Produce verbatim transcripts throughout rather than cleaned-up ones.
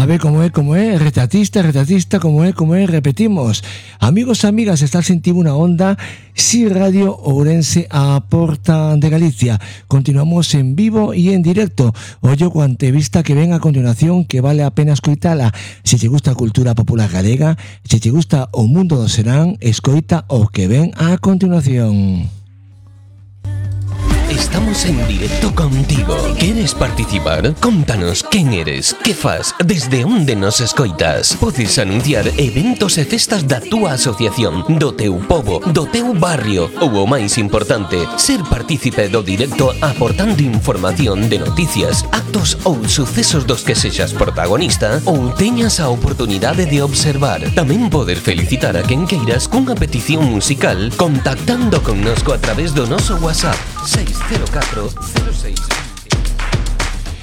ver como é, como é, retratista, retratista, como é, como é, repetimos. Amigos e amigas, está sentindo unha onda, Si Radio Ourense a porta de Galicia. Continuamos en vivo e en directo. Ollo coa entrevista que ven a continuación, que vale a pena escoitala. Se te gusta a cultura popular galega, se te gusta o mundo do serán, escoita o que ven a continuación. Estamos en directo contigo. ¿Quieres participar? Contanos quen eres, que fas, desde onde nos escoitas. Podes anunciar eventos e festas da túa asociación, do teu pobo, do teu barrio ou o máis importante, ser partícipe do directo aportando información de noticias, actos ou sucesos dos que sexas protagonista ou teñas a oportunidade de observar. Tamén poder felicitar a quen queiras cunha petición musical contactando connosco a través do noso WhatsApp seis cero catro cero seis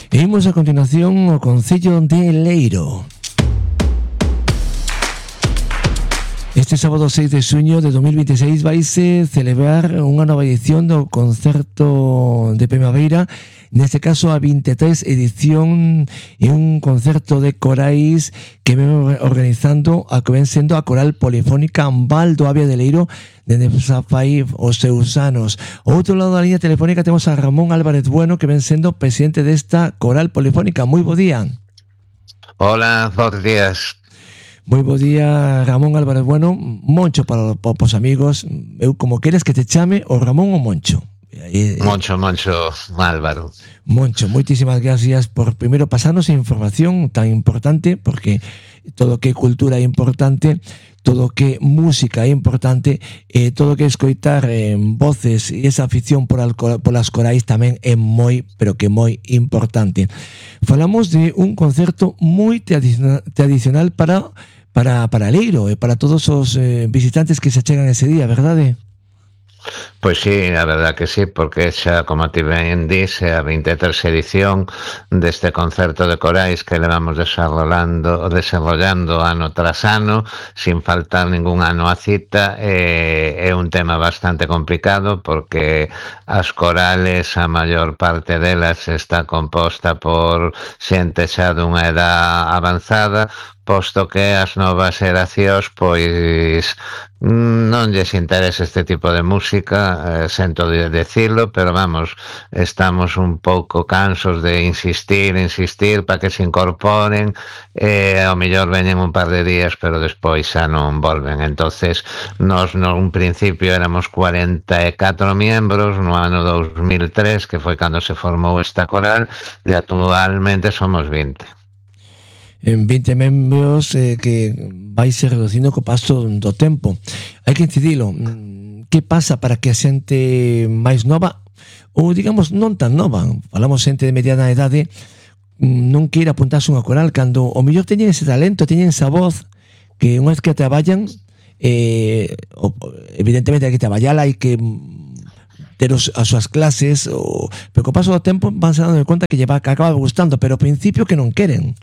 E imos a continuación ao Concello de Leiro. Este sábado seis de xuño de dos mil veintiséis vaise celebrar unha nova edición do concerto de primavera, neste caso a vinte e tres edición, e un concerto de corais que ven organizando a que ven sendo a Coral Polifónica Ambal do Avia de Leiro dende xa fai os seus anos. Ao outro lado da liña telefónica temos a Ramón Álvarez Bueno, que ven sendo presidente desta Coral Polifónica. Moi bo día. Hola, bons días. Moi bo día, Ramón Álvarez Bueno. Moncho para, para os amigos. Eu como queres que te chame, o Ramón ou Moncho? Moncho, Moncho, Álvaro. Moncho, moitísimas gracias por primeiro pasarnos a información tan importante, porque todo que cultura é importante, todo que música é importante, e todo que escoitar en voces e esa afición por, al, por las corais tamén é moi, pero que moi importante. Falamos de un concerto moi tradicional, tradicional para para para Leiro e para todos os eh, visitantes que se achegan ese día, verdade? Pois sí, a verdad que sí, porque xa, como ti ben dis, é a vinte e tres edición deste concerto de corais que levamos desarrollando, desarrollando ano tras ano, sin faltar ningún ano a cita. É, é un tema bastante complicado porque as corales, a maior parte delas está composta por xente xa dunha edad avanzada, posto que as novas xeracións pois non lles interesa este tipo de música, eh, sento de decirlo, pero vamos, estamos un pouco cansos de insistir, insistir para que se incorporen, e eh, ao mellor veñen un par de días, pero despois xa non volven. Entonces, nos no un principio éramos cuarenta e catro miembros no ano dos mil tres, que foi cando se formou esta coral, e actualmente somos vinte. En vinte membros eh, que vai se reducindo co paso do tempo. Hai que incidilo. Que pasa para que a xente máis nova, ou digamos non tan nova, falamos xente de mediana idade, non queira apuntarse unha coral cando o mellor teñen ese talento, teñen esa voz que unha vez que traballan, eh, evidentemente hai que traballala, hai que ter os, as súas clases, o, pero co paso do tempo van se dando conta que lle va, que acaba gustando, pero ao principio que non queren.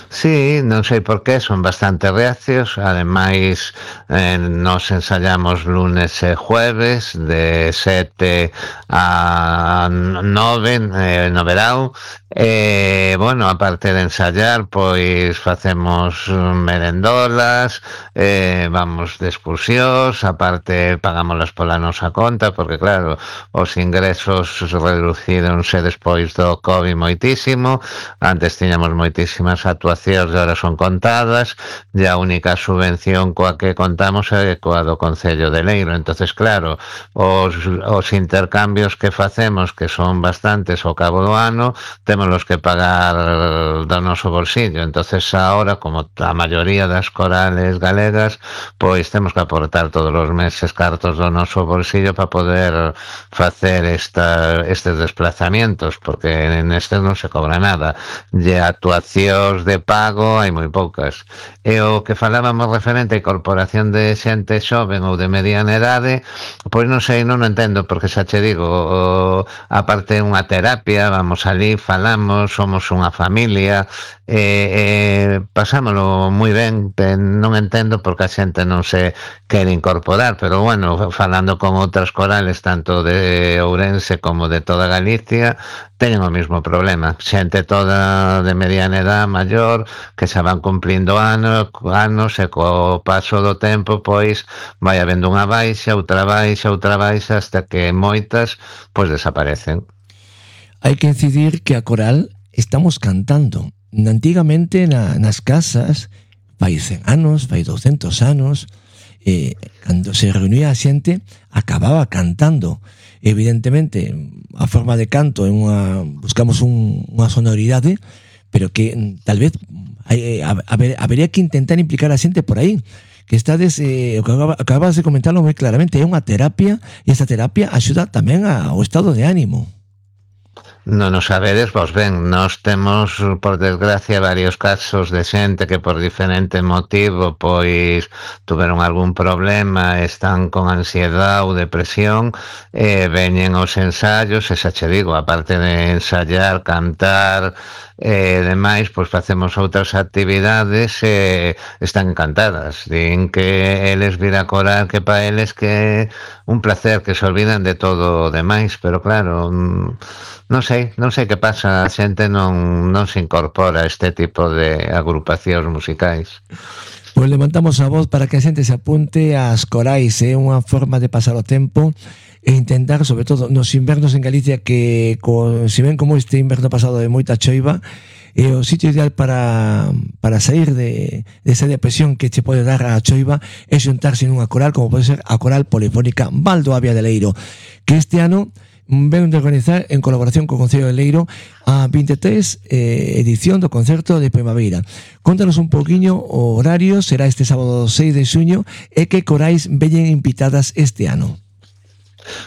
Sí, non sei por qué, son bastante reacios. Ademais, eh, nos ensayamos lunes e jueves de sete a nove eh, no verao. E, eh, bueno, aparte de ensayar, pois facemos merendolas, eh, vamos de excursións, aparte pagámoslas pola nosa conta, porque claro, os ingresos reducíronse despois do COVID moitísimo. Antes tiñamos moitísimas actuacións e ahora son contadas, e a única subvención coa que contamos é coa do Concello de Leiro. Entonces, claro, os, os intercambios que facemos, que son bastantes ao cabo do ano, temos los que pagar do noso bolsillo. Entonces ahora, como a maioría das corales galegas, pois temos que aportar todos os meses cartos do noso bolsillo para poder facer esta, estes desplazamientos, porque en estes non se cobra nada. E actuacións de pago hai moi poucas. E o que falábamos referente a incorporación de xente xoven ou de mediana idade, pois non sei, non entendo, porque xa che digo, o, aparte unha terapia, vamos ali, falamos, somos unha familia, e, e pasámoslo moi ben. Non entendo porque a xente non se quere incorporar, pero bueno, falando con outras corales tanto de Ourense como de toda Galicia, teñen o mesmo problema. Xente toda de mediana edad, maior, que xa van cumplindo anos, anos e co paso do tempo pois vai habendo unha baixa, outra baixa, outra baixa, hasta que moitas pois desaparecen. Hai que incidir que a coral estamos cantando. Antigamente na, nas casas, fai cen anos, fai douscentos anos, eh, cando se reunía a xente, acababa cantando. Evidentemente, a forma de canto é unha, buscamos un, unha sonoridade, pero que tal vez hai, a, a ver, habería que intentar implicar a xente por aí, que estades, eh, acabas, acabas de comentarlo moi claramente, é unha terapia, e esa terapia axuda tamén ao estado de ánimo. Non o sabedes, vos ben, nós temos, por desgracia, varios casos de xente que por diferente motivo pois tuveron algún problema, están con ansiedade ou depresión, e veñen os ensaios, e xa che digo, aparte de ensayar, cantar e demais, pois facemos outras actividades e están encantadas. Din que eles vir a corar, que pa eles que un placer, que se olvidan de todo o demais, pero claro, non sei, non sei que pasa, a xente non, non se incorpora a este tipo de agrupacións musicais. Pois levantamos a voz para que a xente se apunte ás corais, é unha forma de pasar o tempo e intentar, sobre todo nos invernos en Galicia, que co, se ven como este inverno pasado de moita choiva, é o sitio ideal para, para sair de, de esa depresión que che pode dar a choiva é xuntarse nunha coral, como pode ser a Coral Polifónica Valdoavia de Leiro, que este ano ven de organizar en colaboración co Concello de Leiro a vinte e tres eh, edición do concerto de primavera. Contanos un poquinho o horario, será este sábado seis de xuño, e que corais veñen invitadas este ano.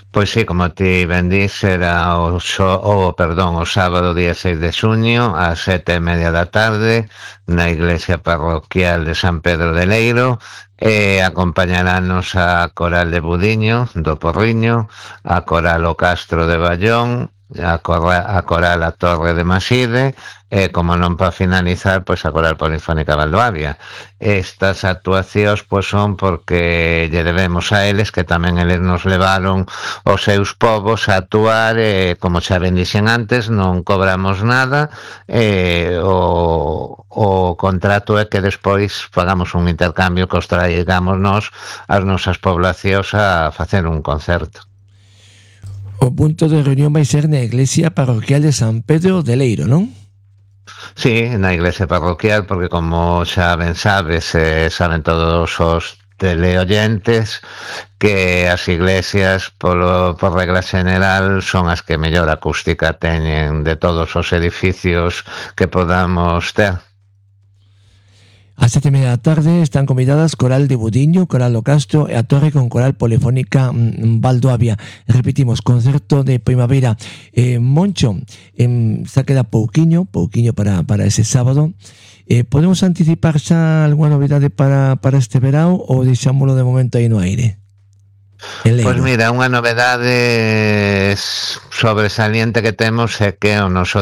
Pois sí, como ti ben dis, será o, so, o, perdón, o sábado día seis de xuño ás sete e media da tarde na iglesia parroquial de San Pedro de Leiro, e acompañarános a Coral de Budiño do Porriño, a Coral o Castro de Ballón, a, Cora, a Coral a Torre de Maside e, como non para finalizar, pois a Coral Polifónica Valdoavia. Estas actuacións pois son porque lle debemos a eles, que tamén eles nos levaron os seus povos a actuar, e como xa ben dixen antes, non cobramos nada, e o, o contrato é que despois pagamos un intercambio que os traigamos nós as nosas poblacións a facer un concerto. O punto de reunión vai ser na iglesia parroquial de San Pedro de Leiro, non? Sí, na iglesia parroquial, porque como xa ben sabes, eh, saben todos os teleoyentes, que as iglesias, polo, por regla general, son as que mellor acústica teñen de todos os edificios que podamos ter. A sete e media da tarde están convidadas Coral de Budiño, Coral do Castro e a Torre con Coral Polifónica Valdoavia. Repetimos, concerto de primavera. Eh, Moncho, eh, xa queda pouquiño, pouquiño para, para ese sábado. Eh, podemos anticipar xa algunha novidade para, para este verao ou deixámoslo de momento aí no aire? Pois mira, unha novedade sobresaliente que temos é que o noso